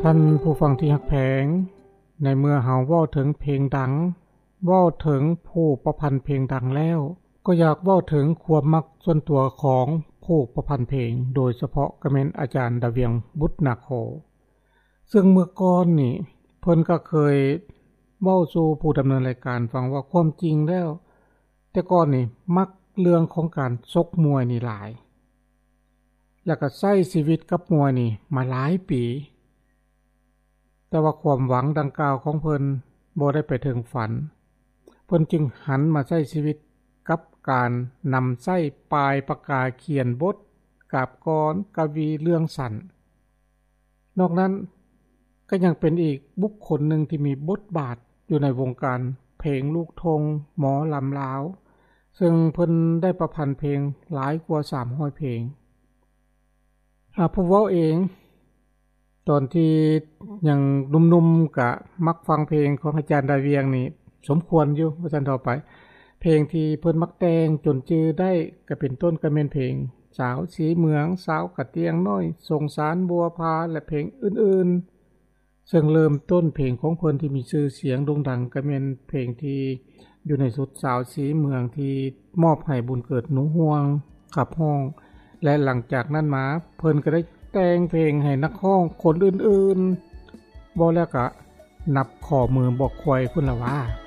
ທ່ານຜູ້ຟັງທີ່ຮັກແພງ, ໃນເມື່ອເຮົາເວົ້າເຖິງເພງດັງ, ເວົ້າເຖິງຜູ້ປະພັນເພງດັງແລ້ວ, ກໍຢາກເວົ້າເຖິງຄວາມມັກສ່ວນຕົວຂອງຜູ້ປະພັນເພງ, ໂດຍສະເພາະກໍແມ່ນອາຈານດາວຽງ ບຸດນາໂຄ. ເຊິ່ງເມື່ອກ່ອນນີ້ ເພິ່ນກໍເຄີຍເວົ້າສູ່ຜູ້ດຳເນີນລາຍການຟັງວ່າ ຄວາມຈິງແລ້ວ ແຕ່ກ່ອນນີ້ມັກເລື່ອງຂອງການຊົກມວຍນີ້ຫຼາຍ ແລ້ວກໍໃຊ້ຊີວິດກັບມວຍນີ້ມາຫຼາຍປີ, ແຕ່ວ່າຄວາມຫວັງດັ່ງກ່າວຂອງເພິ່ນບໍ່ໄດ້ໄປເຖິງຝັນ, ເພິ່ນຈຶ່ງຫັນມາໃຊ້ຊີວິດກັບການນຳໃຊ້ປາຍປາກກາຂຽນບົດ, ກາບກອນ, ກະວີເລື່ອງສັ້ນ. ນອກນັ້ນກໍຍັງເປັນອີກບຸກຄົນໜຶ່ງທີ່ມີບົດບາດຢູ່ໃນວົງການເພງລູກທົ່ງ, ໝໍລຳລາວ, ເຊິ່ງເພິ່ນໄດ້ປະພັນເພງຫຼາຍກວ່າສາມຮ້ອຍເພງ. ຫາກຜູ້ເວົ້າເອງ ຕອນທີ່ຍັງໜຸ່ມໆ ກະມັກຟັງເພງຂອງອາຈານດາວຽງນີ້ສົມຄວນຢູ່ ວ່າຊັ້ນເຖາະໄປ. ເພງທີ່ເພິ່ນມັກແຕ່ງຈົນຈື່ໄດ້ ກະເປັນຕົ້ນກະແມ່ນເພງສາວສີເມືອງ, ສາວກະຕຽງນ້ອຍ, ສົງສານບົວພາ ແລະ ເພງອື່ນໆ. ເຊິ່ງເລີ່ມຕົ້ນເພງຂອງເພິ່ນທີ່ມີຊື່ສຽງໂດ່ງດັງ ກະແມ່ນເພງທີ່ຢູ່ໃນຊຸດສາວສີເມືອງ ທີ່ມອບໃຫ້ບຸນເກີດ ໜູຮ່ວງ ຂັບຮ້ອງ ແລະ ຫຼັງຈາກນັ້ນມາ ເພິ່ນກໍໄດ້ແຕ່ງເພງໃຫ້ນັກຮ້ອງຄົນອື່ນໆ ເວົ້າແລ້ວກະນັບຂໍ້ມືບໍ່ຄວາຍພຸ້ນລະຫວາ.